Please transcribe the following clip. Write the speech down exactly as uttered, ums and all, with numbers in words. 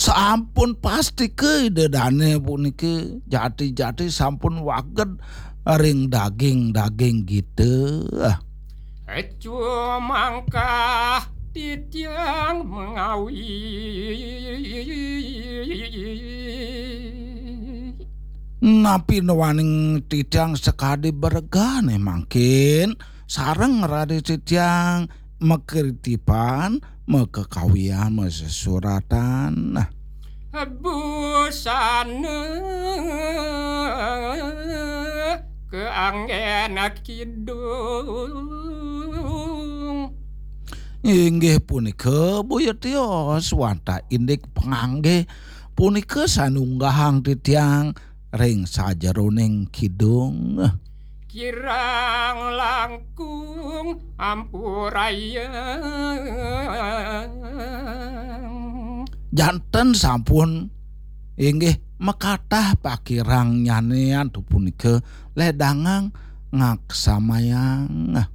Sampun pastika Ida Dane puniki jati-jati sampun waged ring daging-daging gita. Cumangkah titiang mengawi. Napi nawaning titiang sakadi bregane mangkin sareng raris titiang makritipan, makakawian, masesuratan. Busana keanggen kidung. Inggih punika, boya tios wantah indik pangangge punika sane unggahang titiang ring sajeroning kidung. Kirang langkung ampurayang. Janten sampun inggih makatah pakirang nyanean tu punika ledangang ngaksamayang.